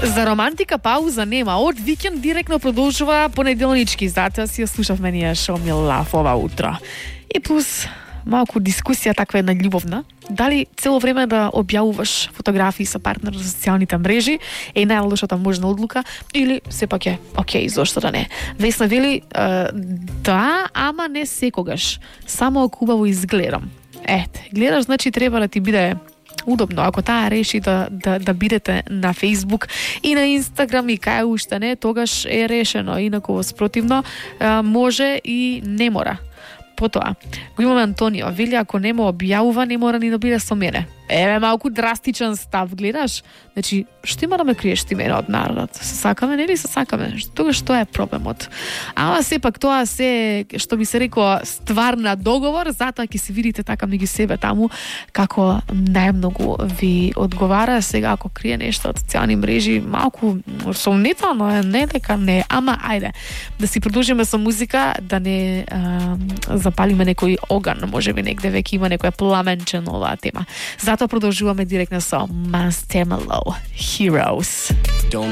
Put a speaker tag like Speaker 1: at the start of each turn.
Speaker 1: За романтика пауза нема. Од викенд директно продолжува понеделнички. Затоа си ја слушавме ние шоу Ми Лав ова утро. И плюс малку дискусија таква една љубовна. Дали цело време да објавуваш фотографии со партнер на социјалните мрежи е најлошата можна одлука или сепак е окей, зошто да не? Весна вели да, ама не секогаш. Само ако убаво изгледам. Ете, гледаш, значи треба да ти биде удобно. Ако таа реши да бидете на Facebook и на Instagram и кај уште не, тогаш е решено. Инаку спротивно може и не мора. Потоа, го имаме Антонио, вели ако не ме објавува, не мора ни да биде со мене. Еве малку драстичен став, гледаш? Значи, што има да ме криеш ти мене од народот? Се сакаме, нели се сакаме? Тогаш што е проблемот? Ама сепак тоа се, што би се реко, ствар на договор, затоа ќе се видите така меѓу себе таму како најмногу ви одговара. Сега ако крие нешто од социјални мрежи, малку сомнително е, не дека не, ама ајде да си продолжиме со музика, да не запалиме некој оган, можеби негде веќе има некоја пламенче на оваа тема. Затоа продолжуваме директно со Marshmello, Heroes.
Speaker 2: Don't